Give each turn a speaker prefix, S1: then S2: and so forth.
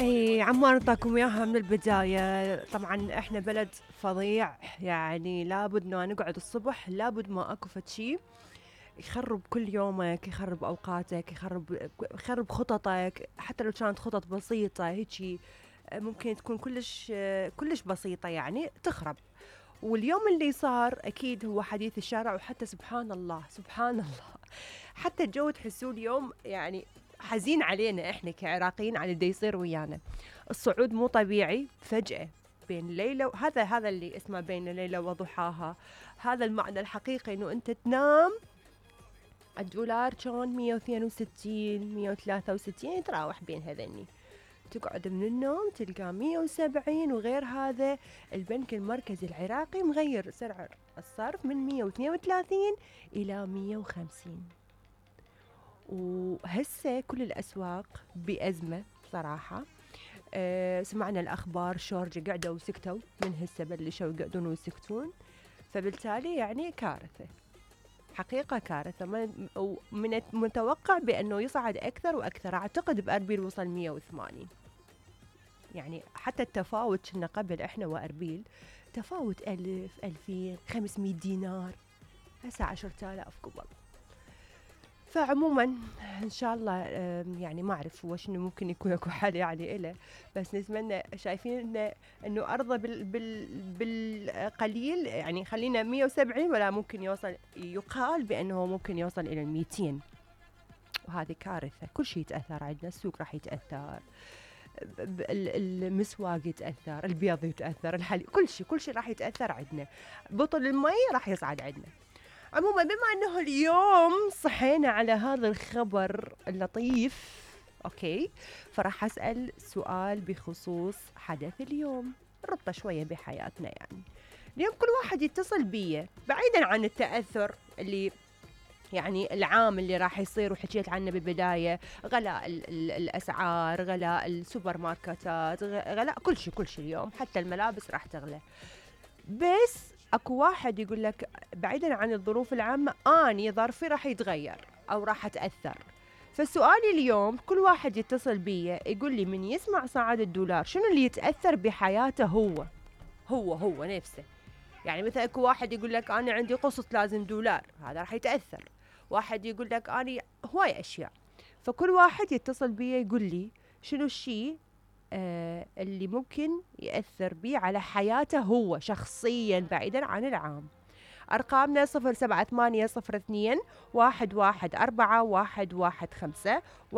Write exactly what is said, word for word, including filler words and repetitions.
S1: اي عمار نعطاكم اياها من البداية. طبعا احنا بلد فظيع، يعني لابد انه نقعد الصبح لابد ما اكو فد شي يخرب كل يومك، يخرب اوقاتك، يخرب يخرب خططك، حتى لو كانت خطط بسيطة هيجي ممكن تكون كلش كلش بسيطة يعني تخرب. واليوم اللي صار اكيد هو حديث الشارع، وحتى سبحان الله سبحان الله حتى الجو تحسوه اليوم يعني حزين علينا احنا كعراقيين على اللي يصير ويانا. الصعود مو طبيعي فجأة بين ليلة، وهذا هذا اللي اسمه بين ليلة وضحاها. هذا المعنى الحقيقي انه انت تنام الدولار كان مية واثنين وستين مية وثلاثة وستين يتراوح بين هذني، تقعد من النوم تلقى مية وسبعين. وغير هذا البنك المركزي العراقي مغير سعر الصرف من مية واثنين وثلاثين إلى مية وخمسين. وهسه كل الأسواق بأزمة صراحة. أه سمعنا الأخبار شورجة قعدوا وسكتوا، من هسه بلشوا يقعدون ويسكتون، فبالتالي يعني كارثة حقيقة كارثة. من المتوقع بأنه يصعد أكثر وأكثر، أعتقد بأربيل وصل مية وثمانين. يعني حتى التفاوت كنا قبل إحنا وأربيل تفاوت ألف ألفين خمسمية دينار، هسه عشرة آلاف قبل. فعموما ان شاء الله يعني ما اعرف هو شنو ممكن يكون اكو حل يعني إله، بس نتمنى شايفين انه انه ارضى بال بال بالقليل، يعني خلينا مية وسبعين ولا ممكن يوصل، يقال بانه ممكن يوصل الى الميتين، وهذه كارثه. كل شيء يتاثر عندنا، السوق راح يتاثر، المسواق يتاثر، البيض يتاثر، الحليب، كل شيء كل شيء راح يتاثر عندنا. بطل المي راح يصعد عندنا. عموما بما انه اليوم صحينا على هذا الخبر اللطيف، اوكي، فراح اسال سؤال بخصوص حدث اليوم، ربطه شويه بحياتنا. يعني اليوم كل واحد يتصل بي بعيدا عن التاثر اللي يعني العام اللي راح يصير وحكيت عنه بالبدايه، غلاء ال ال الاسعار، غلاء السوبر ماركتات، غلاء كل شيء كل شيء. اليوم حتى الملابس راح تغلى. بس اكو واحد يقول لك بعيدا عن الظروف العامة اني ظرفي راح يتغير او راح اتأثر. فسؤالي اليوم كل واحد يتصل بي يقول لي من يسمع صعد الدولار شنو اللي يتأثر بحياته هو هو هو نفسه. يعني مثلا اكو واحد يقول لك انا عندي قسط لازم دولار، هذا راح يتأثر. واحد يقول لك انا هواي اشياء. فكل واحد يتصل بي يقول لي شنو الشيء آه اللي ممكن يأثر بيه على حياته هو شخصيا بعيدا عن العام. أرقامنا صفر سبعة ثمانية صفر اثنين واحد واحد أربعة واحد واحد خمسة.